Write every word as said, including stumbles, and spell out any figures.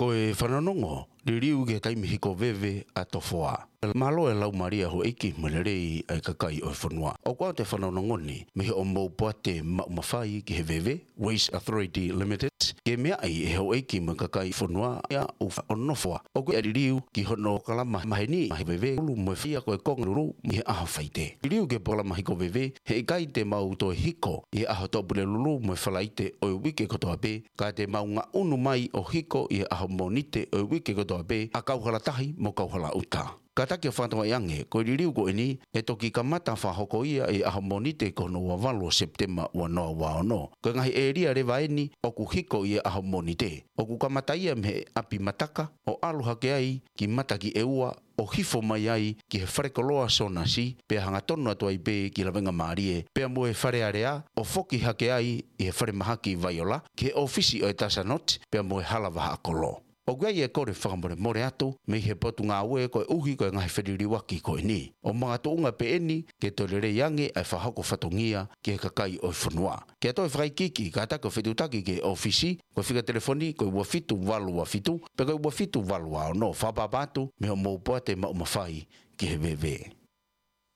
Ko e fanongonongo, liliu ki he taimi hiko veve ʻa Tofoa. Mālō e laumālie ʻa houʻeiki mo e lelei ʻa e kakai ʻo e fonua. ʻOku ʻoatu e fanongonongo ni mei hoʻomou poate maʻu mafai ki he veve, Waste Authority Limited, ke meaʻi ʻe houʻeiki mo e kakai fonua ia ʻoku ʻi Nofoa. ʻOku ʻi ai e liliu ki hono kalama maheni ʻa e veve, ʻulu mo e faia ko e konga lulu ʻi he ʻaho Faite. Liliu ki he polokalama hiko veve, heʻikai te mau toe hiko ʻi he ʻaho Tuʻapulelulu mo e Falaite ʻo e uike kotoa pē, ka te mau ngaʻunu mai ʻo hiko ʻi he ʻaho Mōnite ʻo e uike kotoa pē ʻa kauhala tahi mo kauhala ʻuta. Kātaki ʻo fakatokangaʻi ange, ko e liliu ko eni ʻe toki kamata fakahoko ia ʻi he ʻaho Mōnite ko hono ua valu ʻo Sepitema ua noa ua ono. Ko e ngaahi ʻēlia leva eni ʻoku hiko ʻi he ʻaho Mōnite. ʻOku kamata ia mei he ʻapi Mataka ʻo ʻalu hake ai ki Matakiʻeua ʻo hifo mai ai ki he falekoloa Sōnasi, pea hangatonu atu ai pē ki Lavengamālie, pea mo e Fale Alea, ʻo foki hake ai ʻi he falemahaki Vaiola, ki he ʻōfisi ʻo e Tasanoti, pea mo e Hala Vahaʻakolo. ʻOku ʻi ai e kole fakamolemole atu mei he Potungāue koeʻuhi ko e ngaahi feliliuaki ko eni. ʻO makatuʻunga pē eni ke toe lelei ange ʻa e fakahoko fatongia ki he kakai ʻo e fonua. Ke toe fakaikiiki, kātaki ʻo fetuʻutaki ki he ʻōfisi, ko e fika telefoni ko e ua fitu valu ua fitu, pe ko e ua fitu valu ua ono, fakaʻapaʻapa atu mei hoʻomou poate maʻu mafai ki he veve.